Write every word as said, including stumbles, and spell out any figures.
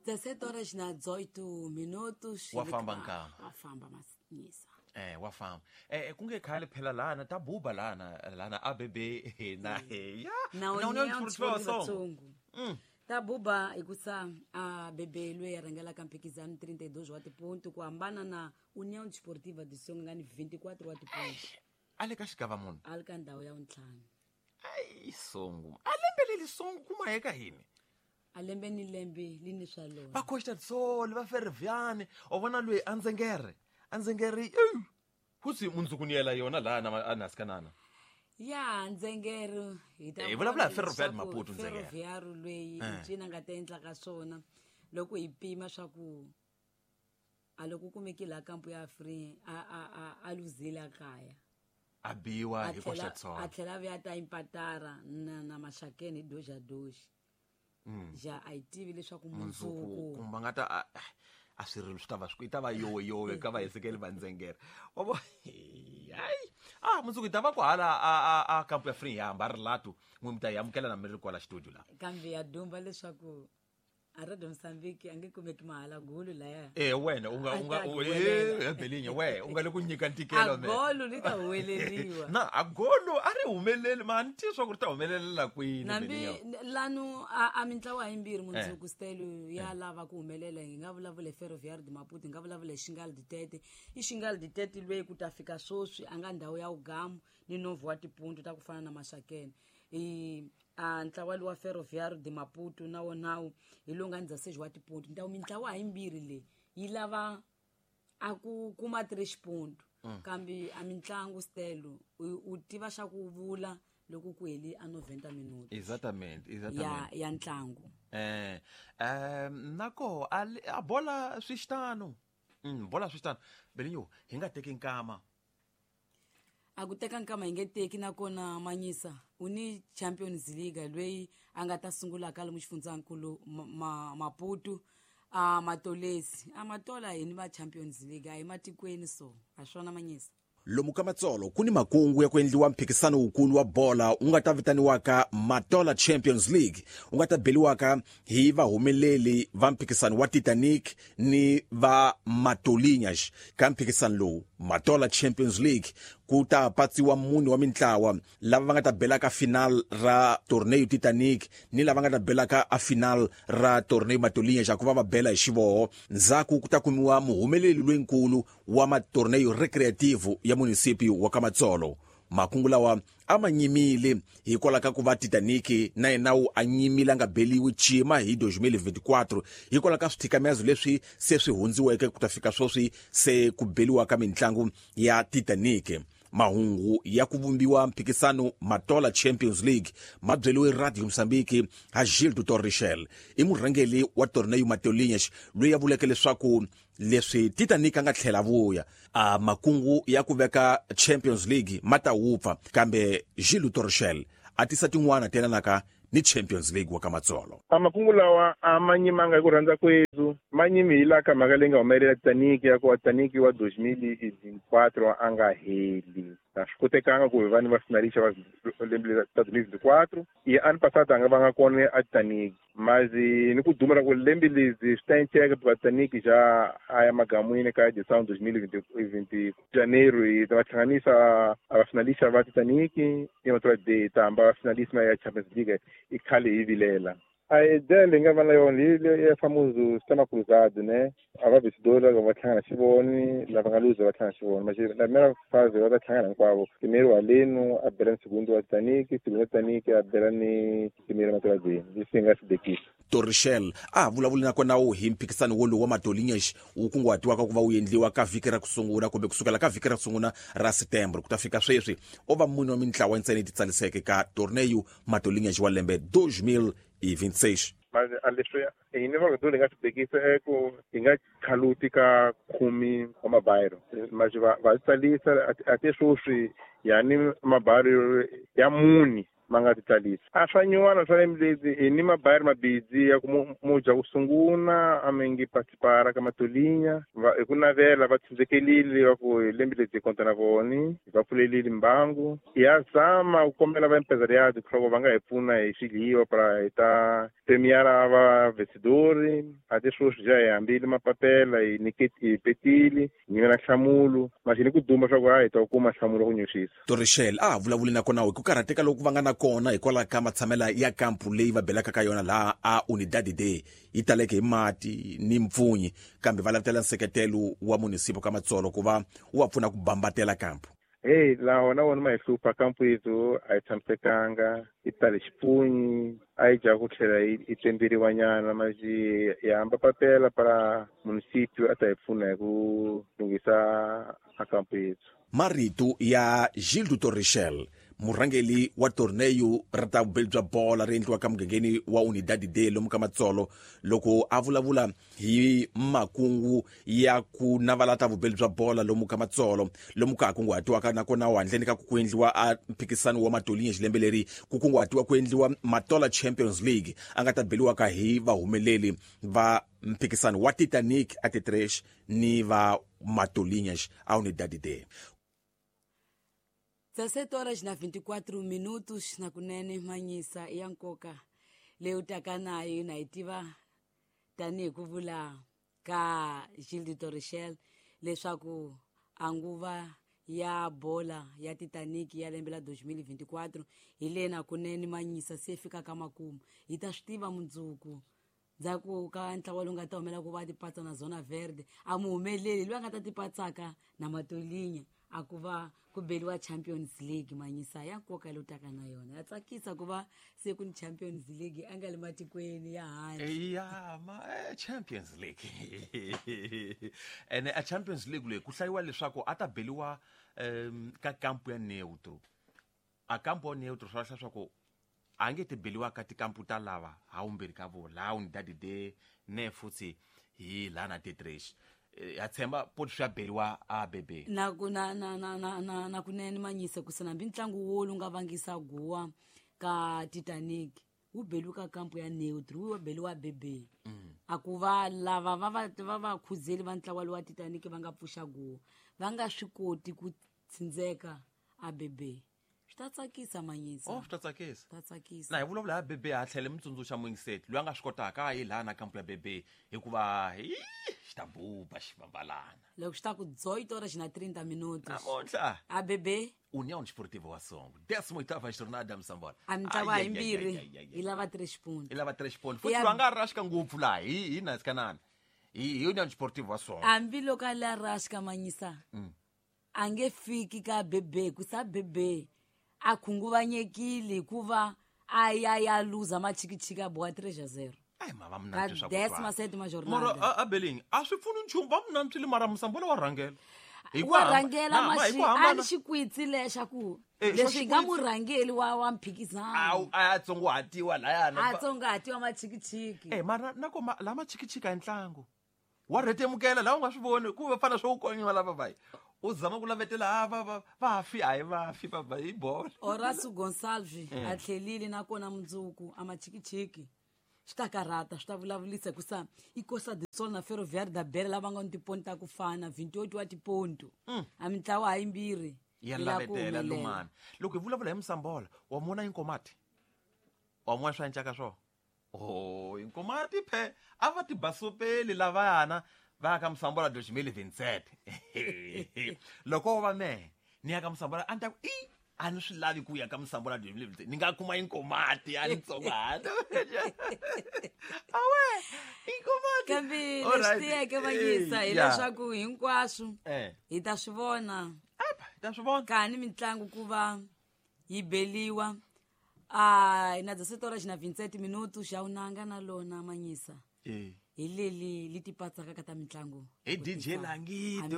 dezessete horas na dezoito minutos. Wa famba nkama. Wa famba manyisa. Eh wa famba. Eh ku nge khale phela lana ta buba lana lana A B B na ya. Na União Desportiva. Mm. Ta buba ikusa A B B lwe ya rangela ka mphikizano trinta e dois wa tiponto ku hambana na União Desportiva de Songo nga ni vinte e quatro wa tiponto. Ale ka xigava munhu. Ale ka ndhawu ya ntlhanu. Ai Songo. A lembe leli Songo kuma eka hini. A lembe ni lembe li ni swa lona. Va Costa do Sol, va Ferroviane, o vona lwe Anzengere. Anzengere, husi mundzuku ni yela yona lana anaskanana. Ya Nzengere hi ta. Eh vulavula Ferroviário Maputo Nzengere. Ferroviário lweyi cina nga ta endla ka swona loko hi pima swa ku a loko kumeki la kampo ya free a a a a luzile kaya. A biwa hi Costa do Sol. A tlhela vuya ta impatara na na Maxakeni doja doji. Mm. Ja a yi tivi leswaku mundzuku kumba nga ta a swirilo swi ta va swi ta va yowe yowe ka va hesekeli va Nzengere. Wa vo hayi ah mundzuku hi ta va ku hala a a a kampo ya free ya hamba ri latu n'wi mi ta yi amukela na mi ri kwala studio la. Kambe ya dumba leswaku a Radio Mozambique a nge kumeki mahala golo laya. Eh wena u nga u nga eh Belinha we u nga le ku nyika ntikelo me. A golo li ta humeleriwa. Na a golo a ri humeleli ma ni swa ku ri ta humelelela kwini Belinha. Nambi lanu a, a mintlawa yimbirhi mundzuku stelo ya lava ku humelela hi nga vulavula Ferroviário de Maputo, hi nga vulavula Xingal de Tete. I Xingal de Tete lweyi ku ta fika swoswi a nga ndhawu ya ugamu ni novo wa tipuntu ta ku fana na Maxakeni. I a ntlawa wa Ferroviário de Maputo na wona hi lowu nga dezesseis wa tiponto. Ndhawu mintlawa yimbirhi leyi yi lava a ku kuma três ponto. Mm. Kambe a mintlangu stelo u tiva xa ku vula loko ku heli a noventa minutos. Exatamente, exatamente. Ya ya ntlangu. Eh, eh nako a, a bola swi xitano. Mm, bola swi xitano. Belinho, hi nga teki nkama. A ku teka nkama hi nge teki nakona manyisa u ni Champions League lweyi a nga ta sungula ka lomu xifundzankulu ma, Maputo a Matolesi a Matola hi ni va Champions League a hi matikweni so a swona manyisa. Lomu ka Matsolo ku ni makungu ya ku endliwa mphikisano wukulu wa bola wu nga ta vitaniwaka Matola Champions League wu nga ta beliwaka hi vahumeleli va mphikisano wa Titanic ni va Matolinhas. Ka mphikisano lowu Matola Champions League ku ta patsiwa mune wa mintlawa lava va nga ta belaka final ra torneo Titanic ni lava nga ta belaka a final ra torneo Matolinhas ku va va bela hi xivoho. Ndzhaku ku ta kumiwa muhumeleli loyinkulu wa matorneo recreativo ya municipio wa Kamatsolo. Makungu lawa a ma nyimile hikwalaho ka ku va Titanic na yena wu a nyimile a nga beliwi cima hi dois mil e vinte e quatro hikwalaho ka swithikamezo leswi se swi hundziweke ku ta fika sweswi se ku beliwa ka mintlangu ya Titanic. Mahungu ya ku vumbiwa mphikisano Matola Champions League ma byeliwe Radio Mozambique ha Gildo Torrichel, i murhangeli wa torneo Matolinhas loyi a vuleke leswaku leswi Titanic a nga tlhela vuya a makungu ya ku veka Champions League ma ta wupfa, kambe Gildo Torrichel a tisa tin'wana telanaka ni Champions League wa ka Matsolo. A makungu lawa a ma nyimanga hi ku rhandza kwethu, ma nyimi hi laha ka mhaka leyi nga humelela Titanic ya ku Titanic wa dois mil e vinte e quatro a nga heli. A swi kotekanga ku hi va ni va finalista va lembe ra dois mil e vinte e quatro i ano passado a nga vanga kona a Titanic, mas ni ku duma ra ku lembe lezi swi ta enceka because Titanic já a ya magamwini ka edição dois mil e vinte e janeiro hi ta va hlanganisa a va finalista va Titanic i Matola de ta hamba va finalista ya Champions League i khale hi vilela. A ideia leyi nga va na yona hi le famoso sistema cruzado, né? A va vencedor va hlangana xivoni, lava nga luza va hlangana xivoni. Mas na primeira fase va ta hlangana hinkwavo. Primeiro Aleno a bela ni segundo wa Titanic, segundo wa Titanic a bela ni primeiro Matola de. Leswi nga swi bekisa. Torrichel a vulavuli nakona wu hi mphikisano wolowu wa Matolinhas wu kunguhatiwaka ku va wu endliwa ka vhiki ra ku sungula kumbe kusukela ka vhiki ra ku sungula ra Setembro ku ta fika sweswi o va mune wa mintlawa ntsena yi titsaliseke ka torneo Matolinhas wa lembe dois mil e vinte e seis. Mas a leswi hi ni va hi nga swi bekisa i ku hi nga khaluti ka khume wa mabayiro, mas va va tsalisa a te sweswi yani mabayiro ya mune ma nga ti tlalisa a swa nyuwana swa lembe hi ni mabayari mabidzi ya ku muja ku sunguna a mi ngi participara ka matolinya va hi ku navela va tshunzekelile va ku hi lembe lebyi hi konta na voni hi va pfulelile mbangu ya zama ku kombela va empresariado ku va nga hi pfuna hi swidliwa para hi ta premiara va vencedori a ti sweswi ja hi hambile mapapela hi niketi hi petile hi nyimela nhlamulo maxini ku duma swa ku a hi ta kuma nhlamulo ku nyuxisa Torrichel a vulavuli na kona hi ku karhateka loku va nga na kona hikwalaho ka matshamela ya kampu leyi va belaka ka yona laha a Unidade D yi taleke hi mati ni mpfunyi kambe va lavutela nseketelo wa munisipo ka Matsolo ku va wu va pfuna ku bambatela kampu. Hey, laha na wona ma hi hlupha kampu yethu a yi tshamisekanga yi tale xipunyi a yi dya ku tlhela yi tsemberiwa nyana maxi hi hamba papela para munisipio a ta hi pfuna hi ku lunghisa a kampu yethu. Marito ya Gildo Torrichel, murhangeli wa torneyo ra ta vubeli bya bola ri endliwaka mugangeni wa Unidade D lomu ka Matsolo loko a vulavula hi makungu ya ku navala ta vubeli bya bola lomu ka Matsolo lomu ka kunguhatiwaka nakona handleni ka ku endliwa a mphikisano wa Matolinya xilembe leri ku kunguhatiwa ku endliwa Matola Champions League a nga ta beliwaka hi vahumeleli va mphikisano wa Titanic a Titresh ni va Matolinya a Unidade D. dezessete horas na vinte e quatro minutos na kunene manyisa ya nkoka leyi u taka nayo na yi tiva tanihi ku vula ka Gildo Torrichel leswaku a nguva ya bola ya Titanic ya lembe la dois mil e vinte e quatro hi le na kunene manyisa se fika ka makumu hi ta swi tiva mundzuku ndzhaku ka ntlawa lowu nga ta humela ku va tipatsa na Zona Verde a mu humeleli loyi a nga ta tipatsaka na Matolinya a ku va ku beliwa Champions League manyisa ya nkoka leyi taka na yona ya tsakisa ku va se ku ni Champions League a nga le matikweni ya handle ya ma Champions League ene a Champions League leyi ku hlayiwa leswaku a ta beliwa um ka kampu ya neutro a kampu ya neutro swa leswaku a nge ti beliwa ka tikampu ta lava ha umbirhi ka vo laha Unidade D ne futhi hi lana Titresh ya tshemba poti swi ya beliwa a bebe na ku na na na na na na kunene manyisa ku sina ntlangu wo lu nga vangisa guwa ka Titanic wu beliwa ka kampu ya neutro wu beliwa bebe a ku va lava va va va va khuzeli va ntlawa wa Titanic va nga pfuxa guwa va nga swi koti ku tsindzeka a bebe swi ta tsakisa manyisa oh swi ta tsakisa ta tsakisa na hi vulavula ha bebe ha tlhele mitsundzuxa muyingiseti loyi a nga swi kotaka a yi laha na kampu ya bebe hikuva hi xi ta buba xi vambalana loko xi ta ku dezoito horas na trinta minutos namuntlha a bebe União Desportiva wa Songo décima oitava jornada Msambola a mitlawa yimbirhi yi lava três pontos yi lava três pontos futhi loyi a nga raxka ngopfu laha hi hi nasikanani hi hi União Desportiva wa Songo hambi loko a la raxka manyisa a nge fiki ka bebe ku sa bebe a khunguvanyekile hikuva a ya ya luza machikichiki a boha três a zero ai ma va munantswi swa décima sétima jornada mara a beling a swi pfuni nchumu va munantswile mara Msambola wa rhangela wa rhangela maxi a ni xikwitsi lexa ku leswi nga murhangeli wa wa mphikizano a tsongohatiwa layana a tsongahatiwa machikichiki eh mara na ko la machikichiki a ntlangu wa rhetemukela laha u nga swi voni ku va fana swo konyiwa lava vai u zama ku lavetela va va vafi a hi vafi va hi bola Horacio Gonçalves a tlhelile nakona mundzuku a machikichiki swi ta karhata swi ta vulavulisa ku sa i Costa do Sol na Ferroviário da Beira lava nga ni tiponto ta ku fana vinte e oito wa tiponto a mitlawa ha yimbirhi ya lavetela lumana loko hi vulavula hi Msambola wa mona Inkomati wa mona swa encaka swo oh Inkomati phe a va ti basopeli lavayana va ka Msambola dois mil e vinte e sete loko va me ni ya ka Msambola a ni ta ku i a ni swi lavi ku ya ka Msambola dois mil e vinte e sete ni nga kuma Inkomati a ni tsongahata awe Inkomati kambe leswi tiyeke vanyisa hileswaku hinkwaswo hi ta swi vona apa hi ta swi vona kani mitlangu ku va yi beliwa a na dezessete horas na vinte e sete minutos xa unanga na lona manyisa eh hi leli li tipatsaka ka ta mitlangu hi D J Langito.